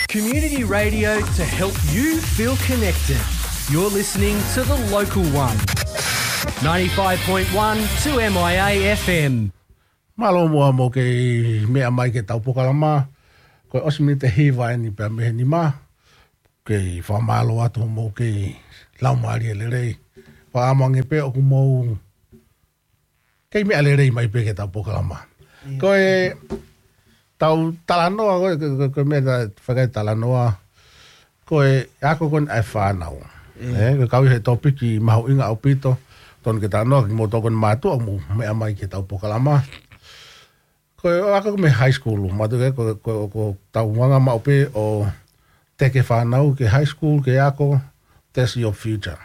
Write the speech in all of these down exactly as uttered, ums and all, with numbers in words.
Community radio to help you feel connected. You're listening to The Local One. ninety-five point one two M I A F M. Mālō muʻa hoʻomou kei meʻa mai ki heʻetau polokalama. Ko e ʻosi miniti ʻe hiva eni pea mei he nima. Kei fakamālō atu hoʻomou kei laumālie lelei. Fakaʻamu ange pē ʻoku mou kei meʻa lelei mai pē ki heʻetau polokalama. Ko ʻetau talanoa, ko e, ko e, ko e, ko e meʻa fakatalanoa. Ko e ako ko eni ʻa e fānau. ʻE, ko e kau ʻi he topiki mahuʻinga ʻaupito. Tonu ke talanoa kimoutolu ko eni mātuʻa ʻoku mou meʻa mai ki heʻetau polokalama. Ko e ako mei high school, mātuʻa ko, ko, ko ʻetau anga maʻu pē ʻo teke fānau ki high school, ke ako, that's your future.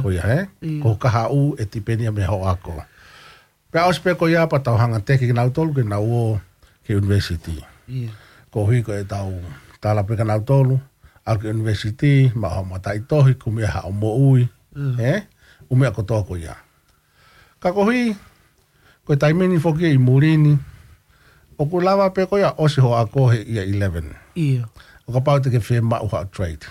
Ko ia, ē? Ko e kahaʻu ʻe tipeni ia mei hoʻo ako. Pea ʻosi pē ko ia pea tau hanga teke kinautolu ke nau ō ki he university. Koeʻuhi ko ʻetau tala pē kinautolu, ʻalu ki he university, maʻu haʻo mataʻitohi, kumi haʻo moʻui, ē? ʻUmeʻa kotoa ko ia. Ka koeʻuhi, ko e taimi ni foki ʻi muli ni, ʻoku lava pē ko ia ʻosi hoʻo ako he year eleven. ʻO kapau te ke fiemaʻu haʻo trade.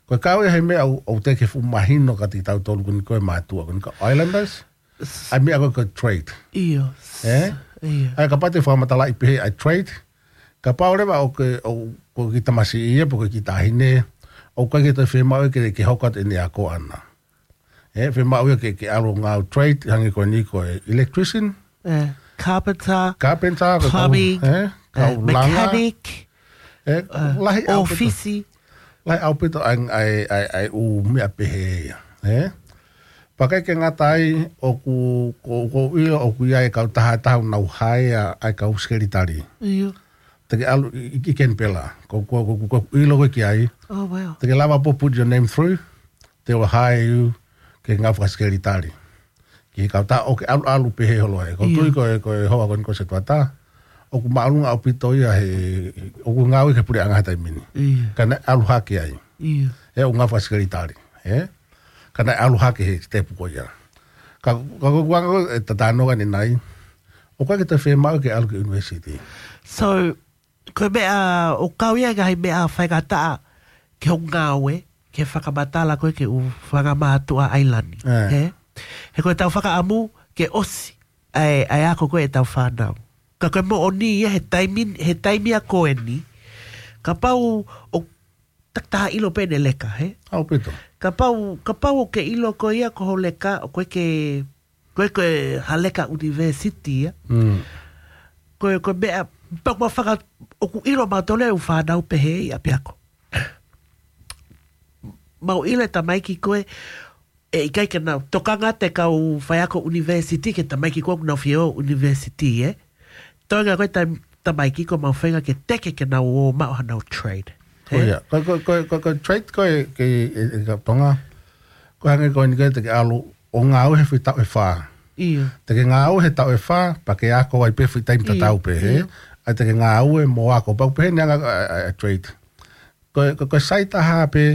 Ko e kau ia he meʻa ʻoku, ʻoku teʻeki ke fuʻu mahino kiate kitautolu ko eni ko e mātuʻa ko eni ko e islanders. ʻA e meʻa ko e, ko e trade. ʻIo. Ē? ʻA ia kapau te ke fakamatalaʻi pehē ʻa e trade. Kapau leva ʻoku ke, ʻoku, ko e tamasiʻi ia pe ko e taʻahine. ʻOku ʻikai ke toe fiemaʻu ke, ke hoko atu ʻene ako ʻaʻana. Ē, fiemaʻu ia ke, ke ʻalu ʻo ngāue trade, hangē ko eni ko e electrician. Carpenter, Carpenter, ko e kau, plumbing, ē, kau langa. Mechanic, ē, lahi ʻaupito. ʻŌfisi. Lahi ʻaupito ʻa e, ʻa e, ʻa e, ʻa e ʻū meʻa pehē ia, ē? Pea ʻikai ke ngata ai ʻoku, ko, ko ia ʻoku ʻi ai e kautaha ʻe taha ʻoku nau hire ʻa e kau sekelitali. Te ke ʻalu ʻi, ʻi, ʻi Kenipela. Ko, ko, ko, ko, ko ʻilo koe ki ai. Te ke lava pē ʻo put your name through. They will hire you ke ngāue fakasekelitali. Ki he kautaha ʻoku ke ʻalu, ʻalu pehē holo ai. Ko u tui ko e, ko e hoa ko eni ko Setuata. ʻOku māʻolunga ʻaupito ia he, ʻoku ngāue ki he puleʻanga he taimi ni. Ka naʻe ʻalu hake ai. He ʻoku ngāue fakasekelitali. Ē? Ka naʻe ʻalu hake he step ko ia. Ka, ka ko e anga ko e talanoa ko eni ʻanenai. ʻOku ʻikai ke toe fiemaʻu ke ʻalu ki he university. So, ko e meʻa, ʻoku kau ia he ngaahi meʻa faingataʻa ki hoʻo ngāue, ke fakamatala koe ki he ʻū fanga mātuʻa ʻailani. He? He ko ʻetau fakaʻamu ke ʻosi ʻa e, ʻa e ako ko ē ʻetau fānau. Ka ko e moʻoni ia he taimi, he taimi ko eni. Kapau ʻoku takitaha ʻilo pē ʻene leka, he? ʻAupito. Kapau, kapau ʻoku ke ʻilo koe ia ko hoʻo leka, ʻoku ʻikai ke, ko e, ko e ha leka university ia. Ko e, ko e meʻa, pea ʻoku mau faka, ʻoku ʻilo mautolu e ʻū fānau pehē ʻi ʻapiako. Mau ʻilo e tamaiki ko ē, ʻe ʻikai ke nau, tokanga atu e kau faiako university ki he tamaiki ko ē ʻoku nau fie ō university, ē? Toenga ko e tam-, tamaiki ko ē mau feinga ke teke ke nau ō maʻu haʻanau trade. Ko ia, ko, ko, ko, ko, ko e trade ko ē, ke, ē, ē, ka Tonga. Ko e hangē ko eni ko ē te ke ʻalu ʻo ngāue he foʻi taʻu ʻe fā. Te ke ngāue he taʻu ʻe fā, pea ke ako ai pē foʻi taimi tatau pē, he? ʻA ia te ke ngāue mo ako, pea ʻoku pehē ni ʻa e anga ʻa e, ʻa e, ʻa e trade. Ko e, ko e, ko e sai taha pē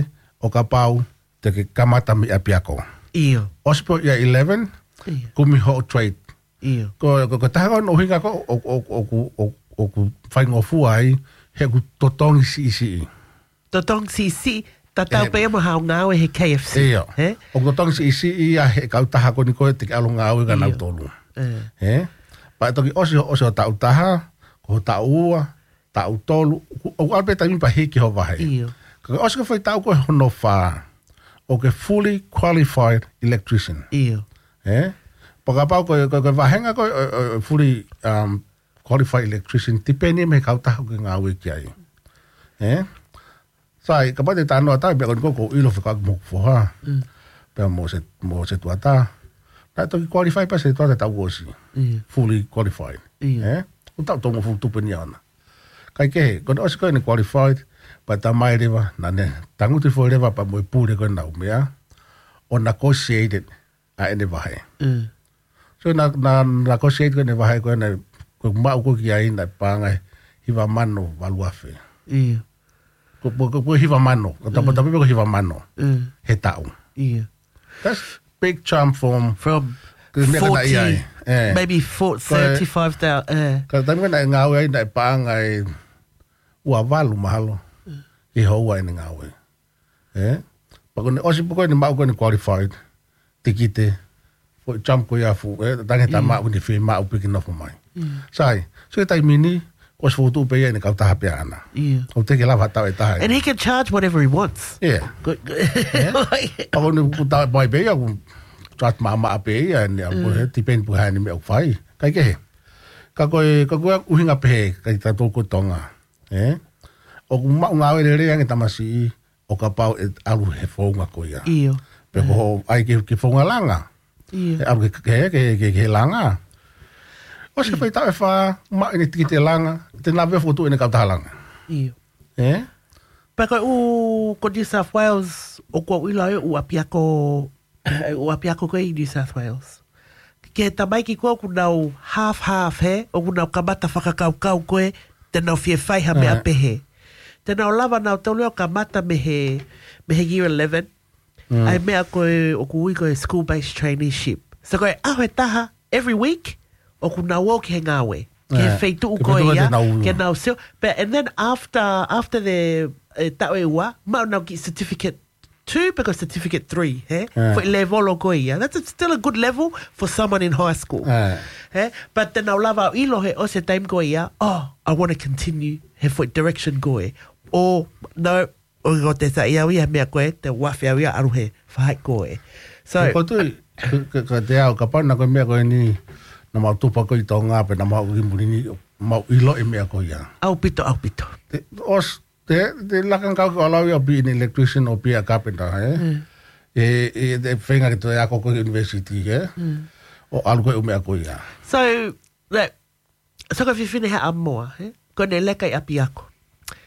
ʻo kapau te ke kamata mei ʻapiako. ʻOsi pē ia eleven, kumi hoʻo trade. Ko, ko, ko e taha ko ē ʻuhinga ko ē ʻoku, ʻoku, ʻoku, ʻoku, ʻoku faingofua ai, he ʻoku totongi siʻisiʻi. Totongi siʻisiʻi, tatau pē mo haʻo ngāue he K F C. He? ʻOku totongi siʻisiʻi ia he kautaha ko eni ko ē te ke ʻalu ʻo ngāue kia nautolu. He? Pea toki ʻosi, ʻosi hoʻo taʻu taha, ko hoʻo taʻu ua, taʻu tolu, ʻoku, ʻoku ʻalu pē taimi pea hiki hoʻo vahe. Ka ʻosi ko e foʻi taʻu ko ē hono fā, ʻoku ke fully qualified electrician. He? Pea kapau ko e, ko e, ko e vāhenga ko ē, ʻo, ʻo, ʻo fully, um, qualified electrician, tipeni mei he kautaha ʻoku ke ngāue ki ai. He? Sai, kapau te ta talanoa atu, meʻa ko eni ko ē ʻoku ou ʻilo fekauʻaki mo hoku foha. Pea mo Se, mo Setuata. Naʻe toki qualify pē Setuata taʻu kuo ʻosi. Fully qualified. He? ʻOku taʻu tolungofulu tupu eni ʻaʻana. Kae kehe, ko ʻene ʻosi ko ē ʻene qualified, pea ta mai leva, naʻá ne tangutu foʻi leva pea mo e pule ko ē ʻenau meʻa, ʻo negotiate ʻa ʻene vahe. So naʻá, naʻá, naʻá negotiate ko ē ʻene vahe ko ē naʻe, ko e maʻu ko ē ki ai naʻe paʻanga ʻe hiva mano valu afe. Ko, ko, ko, ko e hiva mano, ko e tapa, tapa pē ko e hiva mano. He taʻu. That's big jump from, from ko e meʻa ko ē naʻe ʻi ai. Maybe four, thirty-five thousand, ē. Ka ko e taimi ko ē naʻe ngāue ai naʻe paʻanga ʻe ua valu mahalo. ʻi he houa ʻene ngāue. Ē? Pea ko ʻene ʻosi pē ko ē ʻene maʻu ko ē ʻene qualified, tikite, foʻi jump ko ia fuʻu, ē, tangi tā maʻu ni fie maʻu piki nofo mai. Sai, so e taimi ni, ko e fotu pē ia ʻene kautaha pē ʻana. ʻOku teʻeki lava ha taʻu ʻe taha. And he can charge whatever he wants. Yeah. Pea ko ʻene kuta mai pē ia, ʻoku charge maʻamaʻa pē ia, ʻene ʻalu ko ē, depend pē hā ʻene meʻa ʻoku fai. Kaikehe. Ka ko e, ka ko e ʻuhinga pehē, kae tautolu ko Tonga. Ē? ʻOku maʻu ngāue lelei ange tamasiʻi, ʻo kapau ʻe ʻalu he founga ko ia. ʻIo. Pea ko hoʻo ʻai ke, ke founga langa. ʻIo. ʻE ʻalu ke, ke, ke, ke, ke langa. ʻOsi fai taʻu ʻe fā, maʻu ʻene tikite langa, te nave fotu ʻene kautaha langa. ʻIo. Ē? Pea ko e ʻū ko New South Wales, ʻoku ou ʻilo ʻe ʻū ʻapiako, ʻū ʻapiako ko ē ʻi New South Wales. Ke tamaiki ko ē ʻoku nau half half he, ʻoku nau kamata fakakaukau ko ē, te nau fie fai ha meʻa pehē. Te nau lava nautolu ʻo kamata mei he, mei he year eleven. ʻAi meʻa ko ē ʻoku ui ko e school-based traineeship. So ko e ʻaho ʻe taha, every week, ʻoku nau ō ki he ngāue. Ke feituʻu ko ia, ke nau sio. But, and then after, after the, eh, taʻu ʻe ua, maʻu nau kiʻi certificate two, pe ko certificate three, he? Foʻi level ko ia. That's a, still a good level for someone in high school. He? But te nau lava ʻilo he ʻosi e taimi ko ia, oh, I want to continue he foʻi direction ko ē. Or, no, ʻoku ʻikai te saiʻia au ia he meʻa ko ē, te u afe au ia ʻalu he faʻahi ko ē. So, ko tui, ka, ka, ka te au, kapau naʻa ko e meʻa ko eni, naʻa mau tupa ko ē ʻi Tonga, pe naʻa mau ki muli ni, mau ʻilo e meʻa ko ia. ʻAupito, ʻaupito. Te, ʻosi, te, te laka ngāue ke ʻalu au ia ʻo be an electrician or be a carpenter, ē? ʻE, ʻe, te feinga ke toe ako ko ē university, ē? ʻO ʻalu ko ē ʻū meʻa ko ia. So, that, so ko e fefine he ʻamoa, ē? Ko ʻene leka ʻi ʻapiako.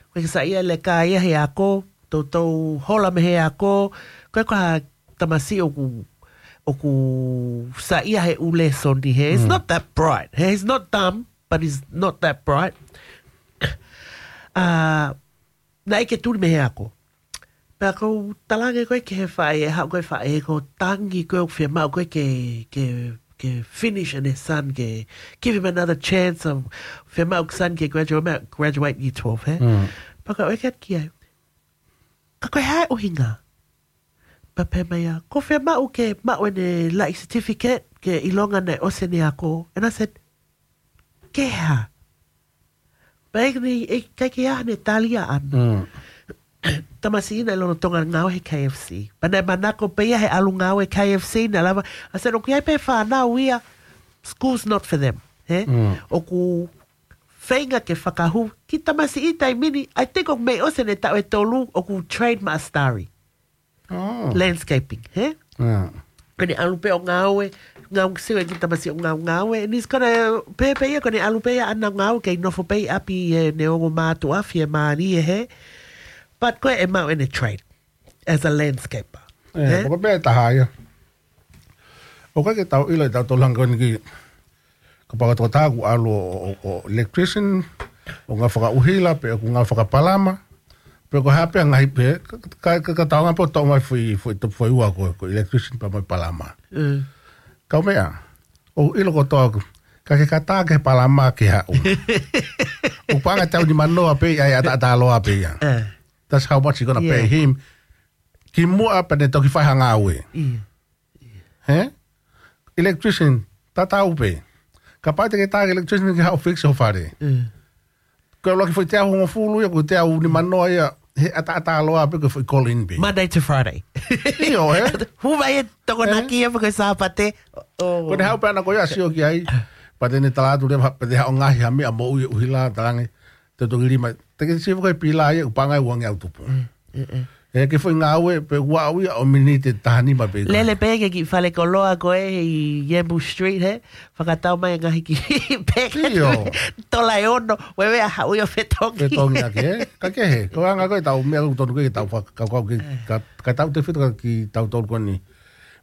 Ko e saiʻia leka ia he ako, toutou hola mei he ako, ko e ko ha tamasiʻi ʻoku, ʻoku saiʻia he ʻū lēsoni, he? He's not that bright, he? He's not dumb, but he's not that bright. Ah, naʻe ʻikai ke tuli mei he ako. Pea ko u talaange ko ē ki he faʻē, haʻu ko ē faʻē, ko e tangi ko ē ʻoku fiemaʻu ko ē ke, ke, ke finish ʻene son, ke give him another chance of fiemaʻu son ke graduate, graduate year twelve, he? Pea ko u ʻeke atu ki ai, ka ko e hā e ʻuhinga? Pea pehē mai ia, ʻoku fiemaʻu ke maʻu ʻene laʻi certificate, ke ʻilonga naʻe ʻosi ʻene ako. And I said, ke hā? Pea ʻikai ke, ʻikai ke ʻi ai haʻane tali ʻaʻana. Tamasiʻi naʻe lolotonga ngāue he K F C. Pea naʻe manako pē ia he ʻalu ngāue K F C, naʻe lava, I said, ʻoku ʻi ai pē fānau ia, school's not for them. He? ʻOku feinga ke fakahū, kiʻi tamasiʻi taimi ni, I think ʻoku mei ʻosi ʻene taʻu ʻe tolu, ʻoku trade maʻa Starry. Landscaping, he? Ko ʻene ʻalu pē ʻo ngāue, ngāue sio e kiʻi tamasiʻi ʻo ngāue, ngāue, and he's gonna, pē, pē ia ko ʻene ʻalu pē ia ʻana ngāue, kei nofo pē ʻi ʻapi ʻene ongo mātuʻa, fiemālie, he? But ko ē ʻe maʻu ʻene trade as a landscaper, he? Ko e pē taha ia. ʻOku ʻikai ke tau ʻilo ʻe tautolu hangē ko eni ki, kapau ko e tokotaha ʻoku ʻalu ʻo, ʻo, ʻo electrician, ʻo ngāue fakaʻuhila, pe ʻoku ngāue fakapalama, pe ko e hā pē ngaahi pē, ka, ka, ka, ka tau ngā pē ʻo toʻo mai foʻi, foʻi, foʻi ua ko, ko e electrician pea mo e palama. Kaumeʻa, ʻoku ʻilo kotoa ʻoku, ka ke katā ke palama ke haʻu. ʻOku paʻanga ʻe teau nimanoa pē ia, ʻe ʻataʻatā loa pē ia. That's how much you gonna pay him. Kimuʻa pea ne toki fai ha ngāue. He? Electrician, tatau pē. Kapau te ke tā ki he electrician ke haʻu ʻo fix ho fale. Ko e ʻuluaki foʻi teau hongofulu ia, ko e teau nimanoa ia, he ʻataʻatā loa pē ko e foʻi call in pē. Monday to Friday. ʻIo, he? Hū mai e Tokonaki ia pe ko e Sāpate. Ko ʻene haʻu pē ʻana ko ia ʻo sio ki ai. Pea te ne tala atu leva, pea te haʻu ʻo ngaohi ha meʻa moʻui ʻuhila, talaange, te toki lima. Te ke sio ko e pila ia, ʻoku paʻanga ʻe uangeau tupu. ʻE ke foʻi ngāue pē ua au ia ʻo miniti ʻe taha nima pē. Lele pē ke kiʻi fale koloa ko ē ʻi Yambu Street, he? Fakatau mai e ngaahi kiʻi peke. ʻIo. Tola ʻe ono, wewe a haʻu ia ʻo fetongi. Fetongi ake, he? Kaikehe, ko e anga ko ē tau meʻa ʻoku tonu ke tau fakakaukau ke, ka, ka tau tefito ka kitautolu ko eni.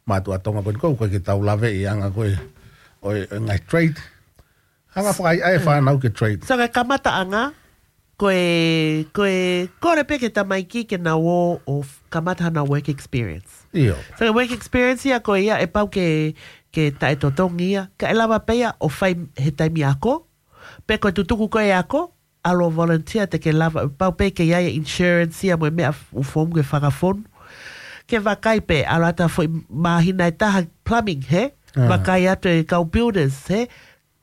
Mātuʻa Tonga ko eni ko ē, ʻoku ʻikai ke tau lave ʻi he anga ko ē ʻo e, ʻo e ngaahi trade. Hanga fakaʻaiʻai e fānau ke trade. So, ko e kamataʻanga, ko e, ko e, kole pē ki he tamaiki ke nau ō ʻo f-, kamata haʻanau work experience. ʻIo. So, ko e work experience ia ko ia ʻe pau ke, ke taʻetotongi ia, kae lava pē ia ʻo fai he taimi ako, pe ko e tutuku ko ē ako, ʻalu volunteer te ke lava, pau pē ke ʻi ai e insurance ia mo e meʻa ʻoku fonu ke fakafonu. Ke vakai pē, ʻalu atu ha foʻi māhina ʻe taha plumbing, hē? Vakai atu e kau builders, hē?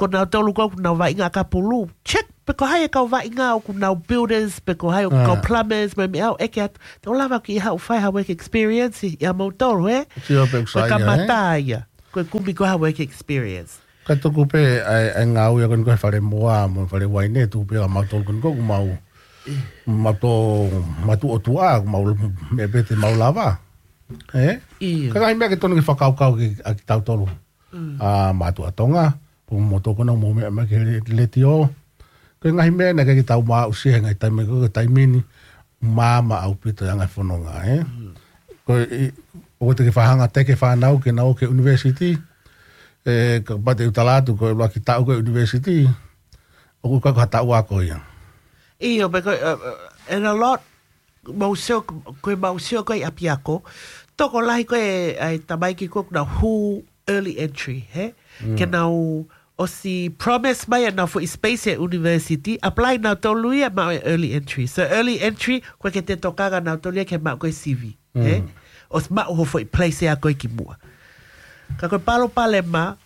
Ko nautolu ko ē ʻoku nau vaʻinga ʻakapulu. Check, pe ko hai e kau vaʻinga ʻoku nau builders, pe ko hai ʻoku kau plumbers, mo e meʻa ʻoku ʻeke atu. Te u lava ke haʻu fai ha work experience ia mautolu, hē? Sio pē ʻoku Ko e sai ia, kamata ia. Ko e kumi ko ha work experience. Ka tuku pē ʻa e, ʻa e ngāue ia ko eni ko e fale moa mo e fale uaine, tuku pē ʻa mautolu ko eni ko ʻoku mau, mau tō, matu o tuʻa, ʻoku mau meʻa pē te mau lava. Ē? ʻIo. Ka ngaahi meʻa ke tonu ke fakakaukau ki, ʻa kitautolu. ʻA mātuʻa Tonga, pea mo tokona mo meʻa mai ki he letiō. Ko e ngaahi meʻa naʻe ʻikai ke tau maʻu ʻi he ngaahi taimi ko ē, ko e taimi ni, māmā ʻaupito e anga e fononga, ē? Ko e, ʻoku te ke fakahanga ʻo teke fānau ke nau ō ki he university, ē, kapau te u tala atu, ko e ʻuluaki taʻu ko ē university, ʻoku ʻikai ko ha taʻu ako ia. ʻIo, pe ko, uh, uh, and a lot, mau sio, ko e mau sio ko ē ʻi ʻapiako, tokolahi ko ē ʻa e tamaiki ko ē ʻoku nau hū early entry, hē? Ke nau ʻosi promise mai ʻenau foʻi space ʻi he university, apply nautolu ia maʻu e early entry. So early entry, ko e ke te tokanga nautolu ia ke maʻu ko ē C V, hē? ʻOsi maʻu ho foʻi place ʻe ako ʻi ki muʻa. Ka ko e palopalema,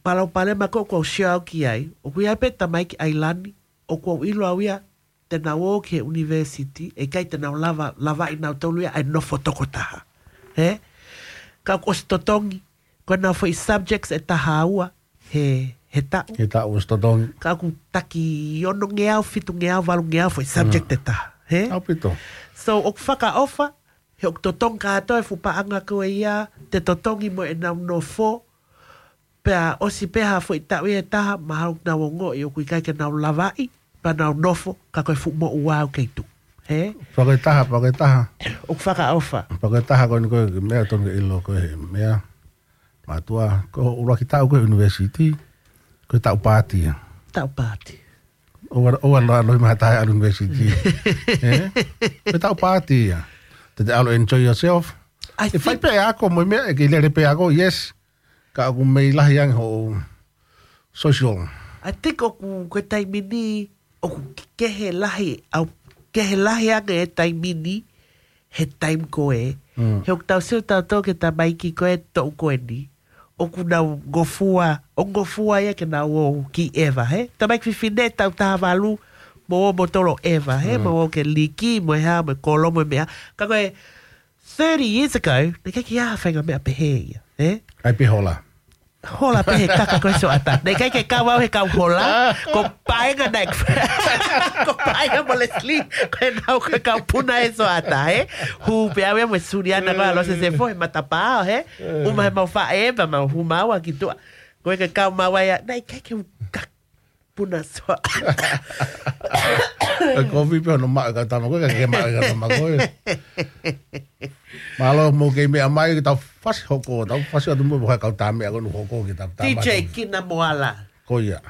palopalema ko ē ʻoku ou sio au ki ai, ʻoku ʻi ai pē tamaiki ʻailani, ʻoku ou ʻilo au ia, te nau ō ki he university, ʻe ʻikai te nau lava, lavaʻi nautolu ia ʻa e nofo tokotaha. Hē? Ka ʻoku ʻosi totongi, ko ʻenau foʻi subjects ʻe taha ua, he, he taʻu. He taʻu ʻosi totongi. Ka ʻoku taki onongeau, fitungeau, valungeau foʻi subject ʻe taha. Hē? ʻAupito. So, ʻoku fakaʻofa, he ʻoku totongi kātoa e fuʻu paʻanga ko ia, te totongi mo ʻenau nofo, pea ʻosi pē ha foʻi taʻu ia ʻe taha, mahalo ʻoku nau ongoʻi ʻoku ʻikai ke nau lavaʻi, pea nau nofo, ka ko e fuʻu moʻua ʻoku kei tuʻu. Hē? Pea ko e taha, pea ko e taha. ʻOku fakaʻofa. Pea ko e taha ko eni ko e meʻa tonu ke ʻilo ko e meʻa. Mātuʻa, ko e ʻuluaki taʻu ko ē university, ko e taʻu paati ia. Taʻu paati. ʻOua, ʻoua ʻalu, ʻalu ʻi mahalo ʻalu university. Ē? Ko e taʻu paati ia. Te te ʻalu enjoy yourself. I ʻE fai think pē ako mo e meʻa, ʻe ke lele pē ako, yes. Ka ʻoku mei lahi ange hoʻo social. I think ʻoku ko e taimi ni, ʻoku kehe lahi, ʻoku kehe lahi ange e taimi ni, he taimi ko ē. He ʻoku tau sio tautolu ki he tamaiki ko ē toʻu ko eni. ʻOku nau ngofua, ʻoku ngofua ia ke nau ō ki ʻeva, hē? Tamaiki fefine taʻu taha valu, mo ō mo tolo ʻeva, hē? Mo ō ki he liki, mo e hā, mo e kolo, mo e meʻa. Ka ko e thirty years ago, naʻe ʻikai ke ʻi ai ha faʻahinga meʻa pehē ia, hē? ʻAi pē hola. Hola pē he kaka ko e sioʻata. Naʻe ʻikai ke kau au he kau hola, ko e paenga naʻe, ko e paenga mo Leslie, ko e kau, ko e kau puna he sioʻata, hē? Hū pē au ia mo e Suliana ko ē ʻa Lose Sefo, he matapā, hē? ʻUma he mau faʻē, pea mau hū maua ki tuʻa. Ko e ke kau maua ia, naʻe ʻikai ke u ka puna sioʻata. E kovi pē hono maʻu e kau tama ko ē, ka ke maʻu e kau tama ko ē. Mālō mo kei meʻa mai, ke tau fasi hoko, tau fasi atu mo e kau tā meʻa ko ē ʻoku hoko ki he tau tā D J mai. Kina Moala. Ko ia.